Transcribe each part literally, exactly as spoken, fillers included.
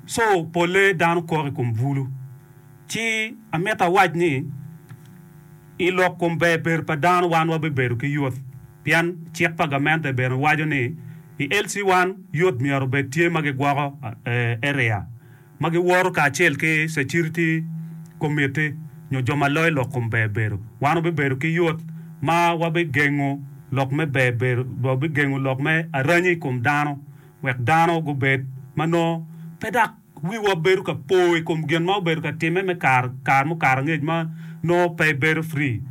So polle dano kok i kom bulu. Ci amito awac ni i lok kom ber bedo pa dano wan wabibedo ki youth pien cik pa gamente bene waco ni i L C one youth myero obed tye ma gigwoko area ma giwoto kacel ki security committee nyo jo ma loyo lok kom ber bedo. Wan wabibedo ki youth ma wabigengo lok me ber bedo, wabigengo lok me aranyi i kom dano wek dano gubed ma nongo pe dok wiwa bedo ka po i kom gin ma obedo ka timme me kare kare mukato angec ma nongo pe bedo free.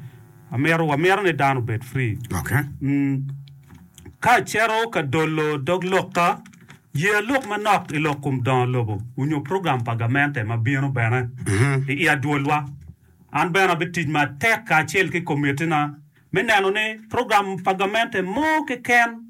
Amito wamito ni dano obed free. Okay. Mm. Ka acito ka dolo dog lokka, ye lok manok i lok kom dongo lobo onyo program pa gamente ma bino bene i i adwolwa. An bene abitic matek kacel ki komitina me neno ni program pa gamente mo keken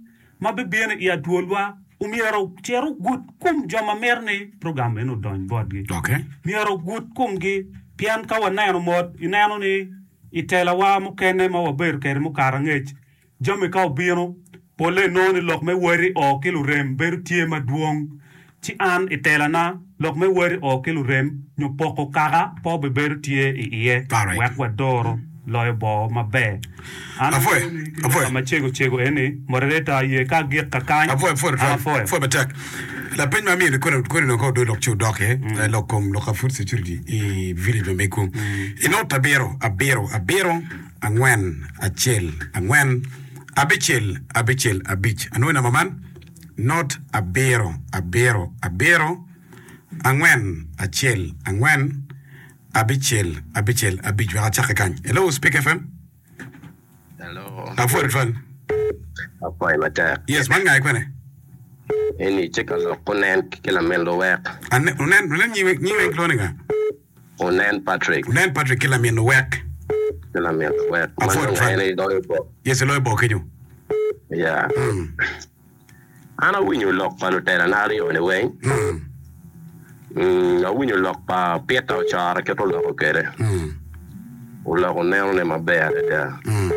ma bibino i adwolwa omyero ocit ogud kom jo ma mito ni program eno odony botgi. Okay. Myero ogud komgi pien ka waneno mot ineno ni i telawa mukene ma wabedo kwede mukato angec jami ka obino polle inongo ni lok me wari o ki lurem bedo tye madwong ci an i telana lok me wari o ki lurem nyo poko kaka pe obibedo tye i iye Alright. wek wadoro loyo bo maber. An Apwoyo, angeyo ni ki apwoyo. loka macego cego eni moderator ye ka agik kakany Apwoyo, apwoyo an tutwal. apwoyo. Apwoyo matek. Lapeny ma amiyo ni koni koni dong ka odong lok ci odok iye, eh, lok kom lok ka food security i village ma megu. I not abiro, abiro, abiro, angwen, acel, angwen, abicel, abicel, abic. Anwoyo namba man, not abiro, abiro, abiro, angwen, acel, angwen, abicel, abicel, abic. Wek acake kany. Hello, Speak F M. Hello. Apwoyo tutwal. Apwoyo matek. Yes, man nga kwene? Eni tye ka lok onen ki lamin luwek. Ane, onen, onen nyiwe, nyiwe kilwongo ni nga? Onen Patrick. Onen Patrick ki lamin luwek. Ki lamin luwek. Ma Apwoyo nongo tutwal. en iloyo bo. Yes, iloyo bo kenyo. Yeah. Mm. An awinyo lok pa lutelana aryo ni weng. Mm. Mm, awinyo lok pa Peter Ocora kit oloko kwede. Mm. Oloko nenone maber adada. Mm.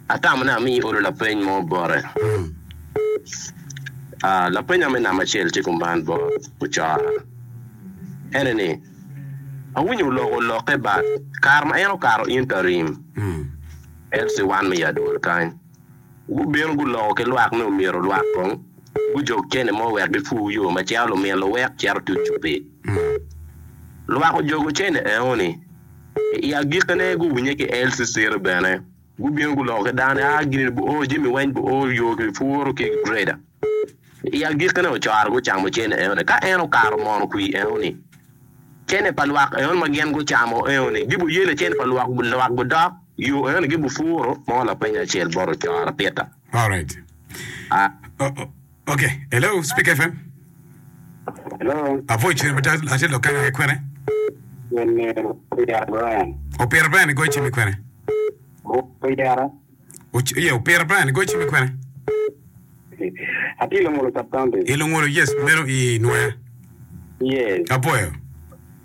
Atamo ni amiyi olo lapeny mo bote. Mm. Ah, lapenya me namba acel tye kuman bot Ocora. Ene ni, awinyo oloko lokke bat kare ma en okato interim Mm. L C one me adwol kany. Gubino guloko ki lwak ni omyero lwak kong gujog cene mo wek gipur yo ma cito lumin luwek cito tuco piny. Mm. Lwak ojogo cene eoni. I agikine guwinye ki L C C bene. Gubino guloko ki dano a gini bu o jami weng bu o yo ki puro ki grader. I agikine Ocoro gucamo cene eoni. Ka en okato mono kwi eoni. Cene pa lwak eoni ma gin gucamo eoni. Gibu yele cene pa lwak lwak budok yo eoni gibu puro mo lapeny acel bot Ocoro Peter. All right. Ah. Oh, oh, okay. Hello, Speak F M. Hello. Apwoyo cwiny matek atye lok kanya ki kwene. Wene Opira Brian. Opira Brian igoyo cim i kwene. Opira. Uc- Yeah, Opira Brian igoyo cim i kwene. Atye Lungolo sub county. I Lungolo, yes, meno i Nwoya. Yes. Apwoyo.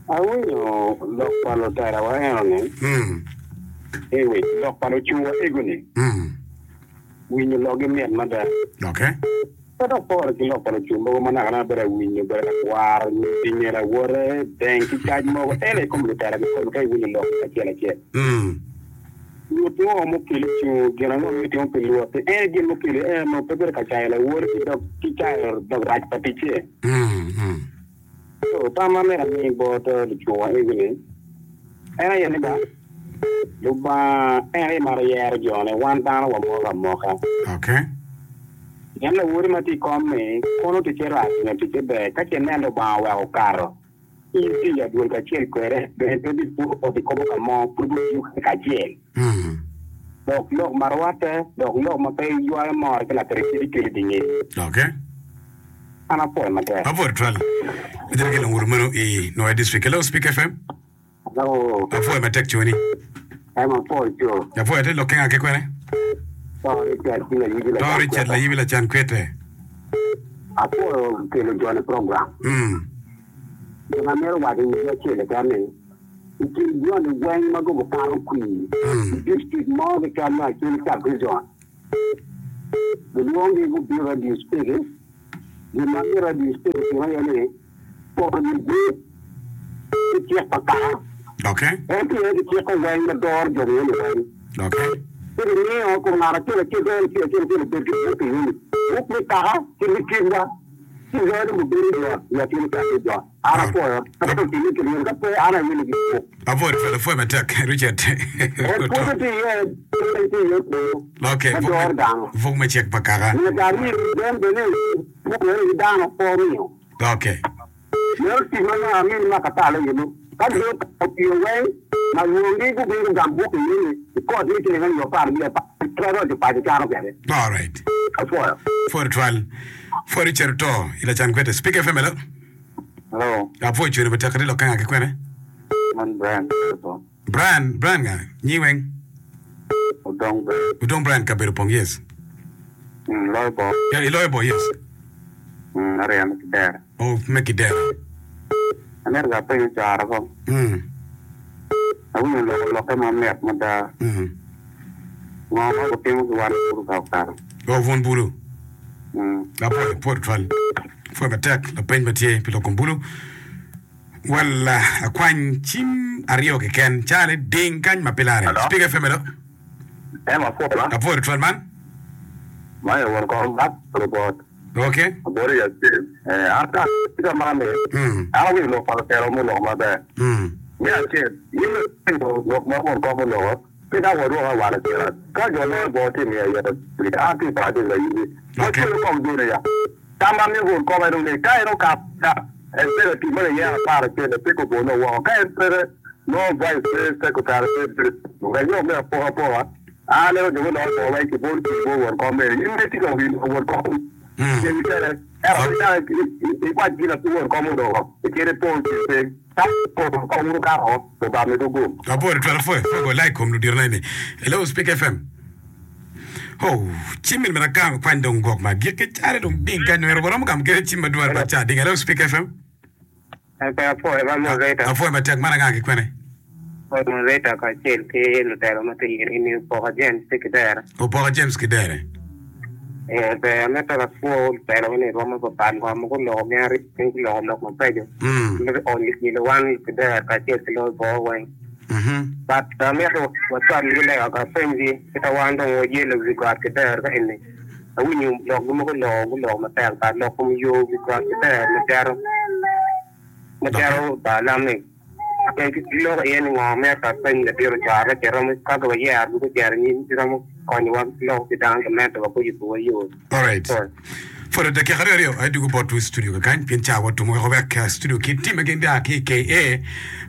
Awinyo lok pa lutelawa eno ni. Mm. Ewe, lok pa lucungwa ego ni. Mm. Winyo lokgi mit mada. Okay. Pe dok pore ki lok pa lucung mogo ma naka naka bedo awinyo bedo ka kwaro pinye lawote deng ki cac mogo ento i kom lutela kikome ka iwinyo lok acel acel. Mm. Nyut ngo mukelo cungo gin ango ma itimo pi luot en gin mukelo en no pe bedo ka cayo lawote ki dog ki cayo dog rac pa ticce. Mm. Mm. So tam ma myero ami bot lucungwa ego ni en aye ni ba Lubanga en aye maro yero jone wan dano wamoko amoka. Okay. Pien lawoti ma tye i kom-mi kono ticce rac nyo ticce ber ka ce nen Lubanga oweko okato in tye i adwol kacel kwede bene pe bipuro ot i kobo ka mo pud wutiyo kwede kacel. Mm. Dok lok ma rwatte dok lok ma pe ywayo mor ki lakiricidi kelo i dye ngec. Okay. An apwoyo matek. Apwoyo tutwal. Itye ki lunguru meno i Nwoya District. Hello, Speak F M. Hello. Apwoyo matek coni. Em apwoyo co. Apwoyo atye lok kenga ki kwene. To Richard ki layibi To lacan Richard kwete. layibi lacan kwete. Apwoyo kelo joni program. Mm. Gin amito waco i wigi acel keken ni i kin joni weng ma gubo kato kwir Mm. i district mo keken me Acholi sub region gilwongi gubino radio speak gin ma mito radio speak otimo aye ni poro ni buk ki cik pa kaka. Okay. En tye ki cik weng ma doro jo eni weng. Okay. Ci gimiyo kom ngat acel acel ki acel acel acel obed ki buk eni. Buk me kaka ki me kitwa. Ci loyo dong obedo yot i atin ka ki jo. An apwoyo. Ka pe otime ki myero ka pe an awilo ki buk. Apwoyo twal apwoyo matek Richard. En pwonyo tye iye, pwonyo tye iye kunu. Okay. Ma doro dano. Buk me cik pa kaka. Myero ami den bene buk eni ki dano pe omiyo. Okay. Meno tic ma nongo amini ma katalo yenu. Ka jo otiyo weng, ma lwongi gubino gugam buk eni i kot me ciling alip apar wiye apar, pe roco paco cano kwede. All right. Apwoyo. Pwoyo twal. Pwoyo Richard oto i lacan kwete. Speak F M hello. Hello, Apwoyo cwene matek ati lokke nga ki kwene. man Brian Kato. Brian, Brian nga? Nyi weng. Odong Brian. Odong Brian kabedo pong yes. Mm, loyo bo. Yeah, iloyo bo yes. Mm, aryemo kidera. Oh, me kidera. Amito ga apenyo cwara ko. Mm. Awinyo loko lokke ma mit mada. Mm. Ngo ma gutimo ki wan bulu ka okato. Oh, wun bulu. Mm. Apwoyo, apwoyo twal. Apwoyo matek, lapeny ma tye pi lok kom bulu. Well, uh, akwany cim aryo keken. Cale ding kany ma pe lare. Hello? Speak F M hello. Em apwoyo. Apwoyo twal man. Ma won kom bat robot. Okay. Aboro ya acel. Eh, an ka ka man ni. Mm. An awinyo lok pa lutelo muloko maber. Mm. Me acel, in lok lok ma won kom oloko, pe dok wadwoko awal acel. Ka jo loyo bo tye miyo aye, an tye pa acel ayubi. Okay. Wacwero kong joni ya. Tam ma miyo won kom en ni, ka en okap ka executive ma giyero apar acel pe kobono woko. Ka en peke, no vice pe secretary pe wek me apoka apoka. An neno jo muloko bo weng kibol ki bo won kom mere. In be tye ka winyo won kom. Mm. Ceng kene. Ero ikwac gin ati won kom odoko. Ikede pol ki piny. Ka won kom uru kato, obame gugum. Apwoyo twal apwoyo. Apwoyo go like kom ludiro na ini. Hello Speak F M. Oh, cim min mera kam kwany dong gwok ma gik cale dong ding kany nwero waromo gam kede cim madwar ba ca ding. Hello Speak F M. Pe apwoyo ba moderator. Apwoyo matek man anga ki kwene. Moderator kacel ki lutelo ma tye ini Opoka James ki Kidere. Opoka James Kidere. Eh, ber amito apwo lutelo ni romo papat ngo ma guloko gin aryo guloko lok mabeco. Mm. Me onyo kilo wan Kidere kacel ki loyo bo weng. Mhm. But amito wacwal gi lega ka penji kita wan dong wayelo wi got Kidere ka eni. Awinyo lok gi mogo loko guloko matek but lok kom yo wi got Kidere macero macero ba lami. Loko iye ni ngo me ka peny ladiro cware ka romo ka wayero gucero nyim romo konyowa loko ki dano gamente wa kuyubo wa yo. All right. Sorry. For the dakika aryo aryo adugo bot studio kakany pien ca watumo weko wek studio ki tim again da ki K A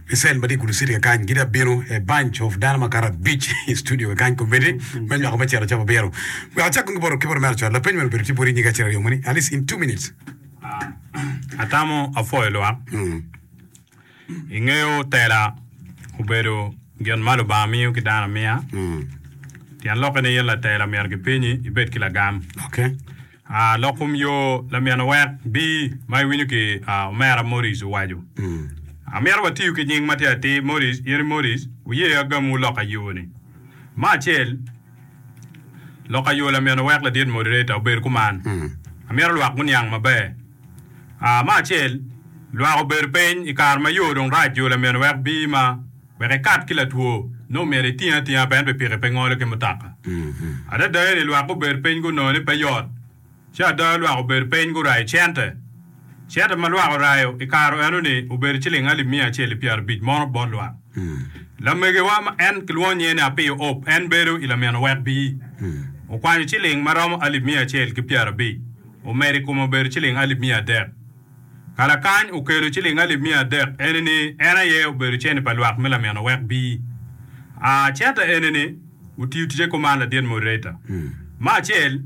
Michelle madi kudu city kakany gida bino a bunch of dano makara beach i studio kakany komedi me nywako me cero cabo biro. We achako ngi boro kiboro mer cwal lapeny meno bedo tye bori nyinga cero aryo moni at least in two minutes. Atamo apwoyo lwak. Mm. Ing'eyo tela obedo gin ma Lubanga miyo ki dano amiya. Mm. Tyen lokke ni in latela myero gipinyi ibed ki lagam. Okay. Ah, lok kom yo lamyeno wek bi ma iwinyo ki ah, omera Morris owaco. Mm. Amyero watiyo ki nying ma tye atir Morris, in Morris, wuye agamu lok ayo ni. Ma acel, lok ayo lamyeno wek ladit moderator obedo kuman. Mm. Amyero lwak guniang maber. Ah, ma acel, lwak obedo piny i kare ma yo dong rac yo lamyeno wek bi ma wek ikat ki latwo nongo myero iting atinga pien pikipiki pe ngolo ki mutoka. Mm. Adada eni lwak obedo piny gunongo ni pe yot. Ci ada lwak obedo piny gurayo cente. Cente ma lwak orayo i kare eno ni obedo ciling alip mia acel i pyerabic mono bot lwak. Mm. Lamegewa ma en kilwongo nyinge ni Apiyo Op en bedo i lamyeno wek bi. Mm. Okwanyo ciling ma romo alip mia acel ki pyerabic. Omedo i kome obedo ciling alip mia adek. Kalakany okelo ciling alip mia adek eni ni en aye obedo cente pa lwak me lamyeno wek bi. Ah, cente eni ni otiyo ticce kuman ladit moderator. Mm. Ma acel,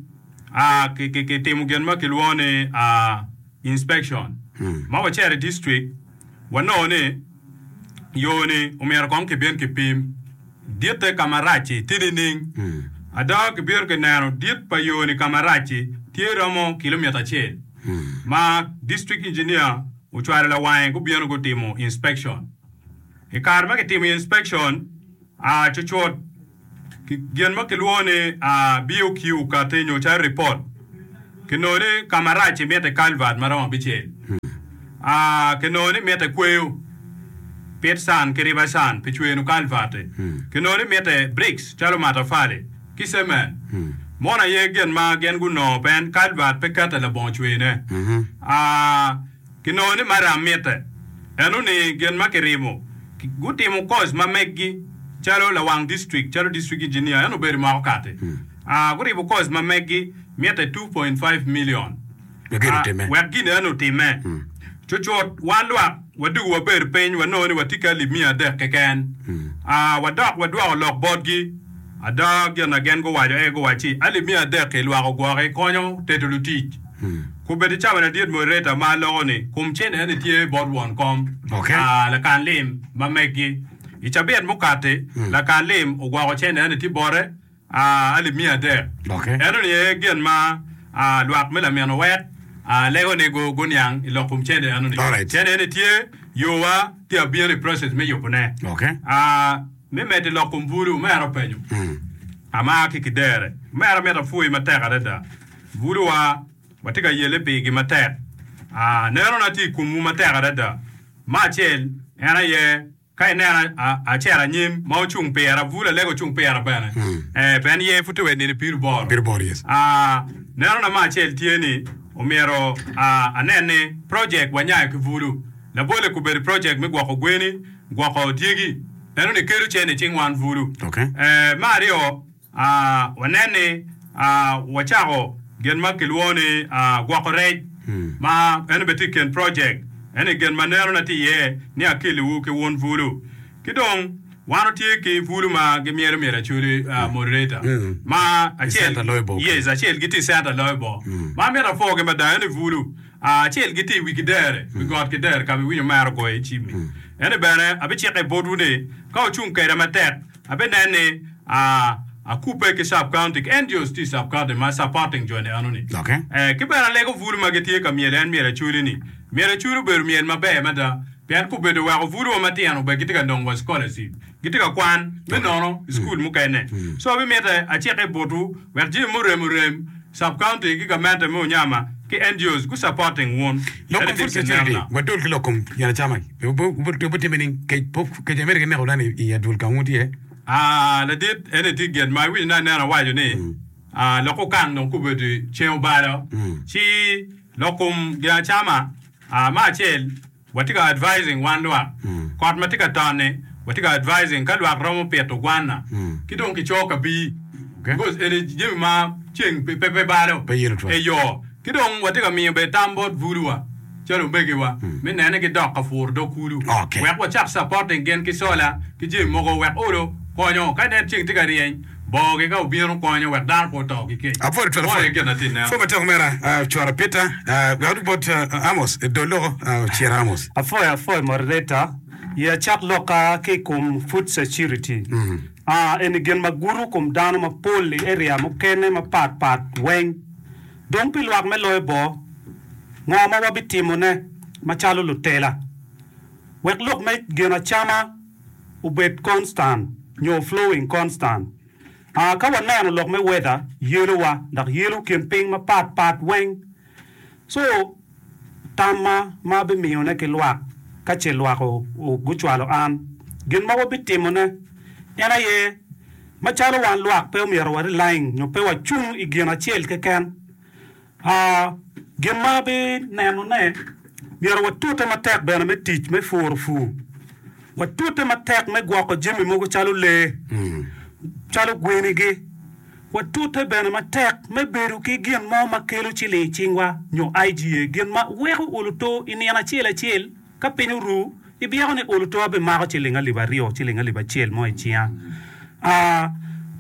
ah, ki, ki, ki timo gin ma kilwongo ni ah, inspection. Mm. Ma wacito i district, wanongo ni yo ni omyero kong kibin kipim ditte ka marac-ci tye nining. Mm. Ada kibino kineno dit pa yo ni ka marac-ci tye romo kilomita acel. Mm. Ma district engineer ocwalo lawange gubino gutimo inspection. I kare ma kitimo inspection, ah, cucut gin ma kilwongo ni ah, B O Q kati nyo calo report kinongo ni ka marac-ci mitte culvert ma romo abicel. Ah, kinongo ni mitte kweyo pit sand ki river sand pi cweno culvert-ti. Kinongo ni mitte bricks calo matafali ki cement. Mono aye gin ma gin gunongo pien culvert pe kette labongo cwene. Ah, kinongo ni maram mitte. Enoni gin ma kirimo. Gutimo course ma meggi calo lawang district, calo district engineer, en obedo i mwaka okati. Ah, guribo course ma meggi mitte two point five million. Wek gin Ah, otimme. wek gin eno otimme. Cucut wan lwak wadugo wabedo piny wanongo ni watye ki alip miya adek keken. Ah, wadok wadwoko lok botgi. Ada gin na gin guwaco aye guwacci alip miya adek-ki lwak ogwoki konyo tedo lutic. Kubedi cawa ladit moderator ma aloko ni kum cene eni tye bot won kom Okay. ah, lakan lim ma meggi. I cabit mukati lakan lim ogwoko cene eni tye bote ah, alip miya adek. Okay. Eno ni aye gin ma ah, lwak me lamino wek ah, lego ni gu- guniang i lok kom cene eno ni. Alright. Cene eni tye yowa tye abino i process me yubone. Okay. Ah, me medo i lok kom bulu omera openyo. Amar ki kidere. Omera mito apwoyi matek adada. Buluwa watye ka yelle pigi matek. Ah, nenona tye i komwu matek adada. Me acel, en aye ka ineno acel anyim ma ocung pira, bulu alego ocung pira bene. Eh, pien ye pud tye wa i nino piru boro. Piru boro, yes. Ah, nenona me acel tye ni omyero ah, anen ni project wanyayo ki bulu. Labolle kubedo project me gwoko gweni, gwoko dyegi. Eno ni kelo cene i cing wan bulu. Okay. Eh, me aryo, ah, wanen ni ah, wacako gin ma kilwongo ni ah, gwoko rec ma eno bene tye i kin project. Eni gin ma nenona tye iye ni akeliwu ki wun bulu. Ki dong wan watye ki bulu ma gimyelo myel acoli ah, moderator ma I acel center loyo bor. yes, acel gitye i center loyo bor. Ma amito apwogi mada eni bulu. Ah, acel gitye i wi kidere, wi got kidere ka ma iwinyo omera ogoyo i cimmi. Eni bene abicike botwu ni ka wucung kweda matek, abinen ni ah, akubbe ki sub county ki N G Os tye i sub county ma supporting joni enoni. Okay. Eh, ki bene alego bulu ma gitye ka myelo en myel acoli ni. Myel acoli obedo myel maber mada pien kubedo weko bulu wa matino bene gitye ka nongo wa scholarship. Gitye ka kwan me nono i school mukene. So abimite acike botwu wek jami murem orem sub county ki gamente me Onyama ki N G Os gu supporting wun. Lok Eni kom food tye security kineno. wadol ki lok kom gin acama. Obitime ni kec kec amito gineko dano i adwol ka wun tye. Ah, ladit eni tye gin ma iwinyo ni aneno awaco ni ah, lok okang dong kubedo ceng obalo ci lok kom gin acama ah, me acel watye ka advising wan lwak kot ma tye ka toni watye ka advising ka lwak romo pito gwana ki dong kico kabii Okay. because eni jami ma ceng pe pe pe balo Pe yelo twal. eyo ki dong watye ka miyo bene tam bot buluwa calo omegiwa me nene ki dok ka puro dog kulu Okay. wek wacak supporting gin ki solar ki jami mogo wek olo konyo ka inen ceng tye ka ryeny bogi ka obino konyo wek dano pe oto ki kec Apwoyo twal Mono aye gin atye neno. Pwo matek omera ah, cwara Peter ah, wek adug bot ah, Amos dol loko ah, Cira Amos. Apwoyo apwoyo moderator ye acak loka ki i kom food security. Ah, eni gin ma gudo kom dano mapol i area mukene mapat pat weng. Dong pi lwak me loyo bo, ngo ma wabitimone macalo lutela. Wek lok me gin acama obed constant nyo flowing constant. Ah, ka waneno lok me weather yelowa dok yelo kin piny mapat pat weng. So tamma ma abimiyone ki lwak ka ce lwak o- o- gucwalo an gin ma wabitimone en aye macalo wan lwak pe omyero wa relying nyo pe wacung i gin acel keken. Ah, gin ma abinenone myero watute matek bene me tic me puro pur. Watute matek me gwoko jami mogo calo lee, calo gwenigi. Watute bene matek me bedo ki gin mo ma kelo ciling i cingwa nyo I G A gin ma weko oluto i nino acel acel ka piny oru ibyeko ni oluto abimako ciling alip aryo ciling alip acel mo i cinga. Ah,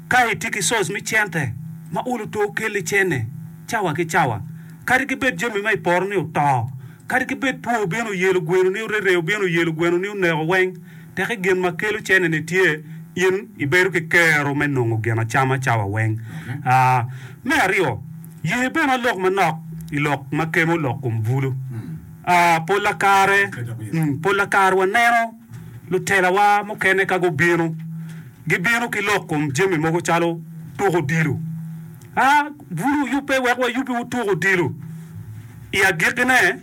ka itye ki source me cente ma oluto kelli cene cawa ki cawa kadi ki bed jami ma i poto ni oto kadi ki bed two obino oyelo gweno ni orere obino oyelo gweno ni oneko weng teki gin ma kelo cene ni tye in ibedo ki kero me nongo gin acama cawa weng. Ah, me aryo ye bene alok manok i lok ma kemo lok kom bulu. Ah, pola kare mm, pola kare waneno lutelawa mukene ka gubino gibino ki lok kom jami mogo calo tuko odilo. Ah, bulu oyubbe wek wayubbi tuko odilo. I agikine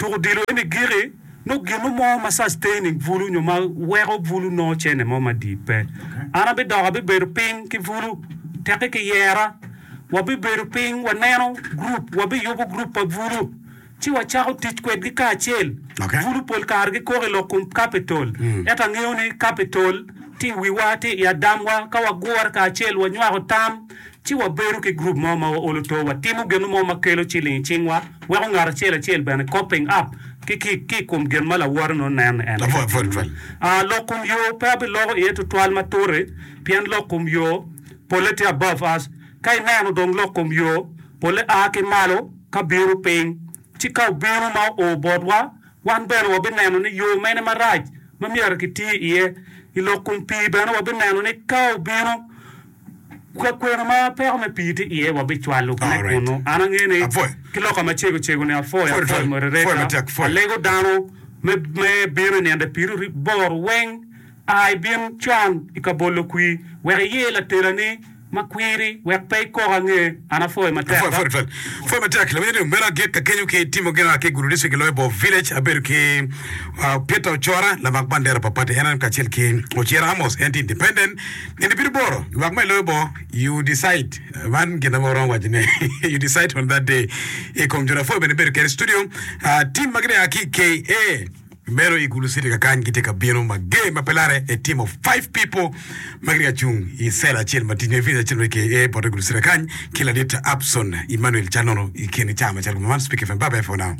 Tuko odilo eni giki nongo gin mo ma sustaining bulu nyo ma weko bulu nongo cene mo madit pe. An abidok abibedo piny ki bulu tekki ki yera wabibedo piny waneno gurup wabiyubo gurup pa bulu ci wacako tic kwedgi kacel. Okay. Bulu pol kare gikoko i lok kom capital. Ento angeyo ni capital tye i wiwa tye i adamwa ka wagure kacel wanywako tam ci wabedo ki gurup mo ma waolo to watimo gin mo ma kelo ciling i cingwa weko ngat acel acel bene coping up ki ki ki i kom gin ma lawote nongo neno en. Apwoyo, apwoyo tutwal. Ah, lok kom yo pe abiloko iye tutwal ma turi pien lok kom yo polle tye above us. Ka ineno dong lok kom yo polle a ki malo ka bino piny ci ka obino ma oo botwa wan bene wabineno ni yo mene marac ma myero kiti iye. I lok kom pii bene wabineno ni ka obino ka kwena ma peko me pii tye iye wabicwalo ne Alright. kunu. An angeyo ni Apwoyo. ki loka macego cego ni apwoyo Apwoyo apwoyo tutwal. Apwoyo moderator matek, apwoyo. alego dano me me bino i nino piero aboro weng a ibin con i ka bolo kwir wek iyer latelani ma kwiri wek pe ikok ange. An apwoyo matek. Apwoyo, apwoyo tutwal. Apwoyo matek. Lawiny ni meno agik ka kenyo ki timo gin ki Gulu District i loyo Bo Village abedo ki uh, Peter Ochora lamak bandera pa party N R M kacel ki Ocira Amos en tye independent. Nino piero aboro lwak ma i loyo Bo you decide man gin ma waromo waco ni you decide on that day i kom jo apwoyo bene bedo kede i studio uh, team ma gitye a ki K A meno i Gulu City kakany gitye ka bino mager ma pe lare a team of five people ma gitye ka cung i cell acel ma tye village acel ma K A bote Gulu City kakany ki ladit Abson Emmanuel Canono i kin cawa macalo man Speak F M bye bye for now.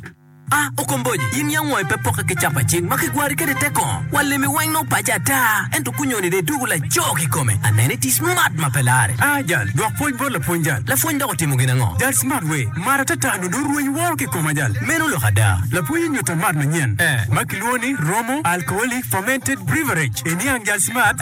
Ah, okomboji, in yang ngoi pe poke ki capa cing ma kigwari kede te kongo. Walemi weng no paca ata, ento kunyoni de dugu laco kikome. Anene ti smart ma pe lare. Ah, jal, dwok pwony bot lapwony jal. Lapwony dok otimo gin ango? Jal smart we, mar atata no do rweny woro kikoma jal. Meno lok ada. Lapwony onyuta mat manyien. Eh. Ma kilwongo ni Romo Alcoholic Fermented Beverage. Iniang jal smart.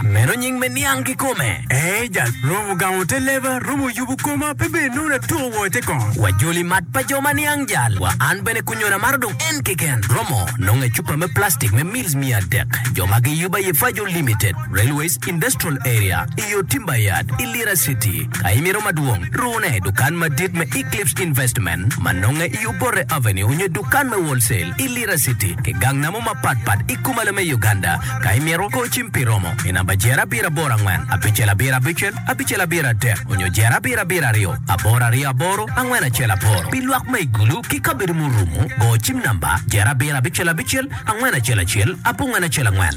Meno nying me niang kikome. Eh, jal, Romo gamo te leba, Romo yubo koma, pe bene nongo atuko wo te kongo. Wajoli mat pa jo ma niang jal. Wa an bene kunyona maro dong en keken. Romo nongo e cupa me plastic me mils mia adek. Jo ma giyubo aye Fajo Limited, Railways Industrial Area, iyo Timber Yard, i Lira City. Ka imito madwong, rune dukan madit me Eclipse Investment, ma nonge i Obote Avenue nyo dukan me wholesale i Lira City, ki gang namo mapatpat i kumalo me Uganda. Ka imito, go cim pi Romo i namba jer abiro aboro angwen, abicel abiro abicel, abicel abiro adek, onyo jer abiro abiro aryo, aboro aryo aboro, angwen acel aboro. Pi lwak ma i Gulu ki kabedo murumo, go cim namba jer abiro abicel abicel, angwen acel acel, abongwen acel angwen.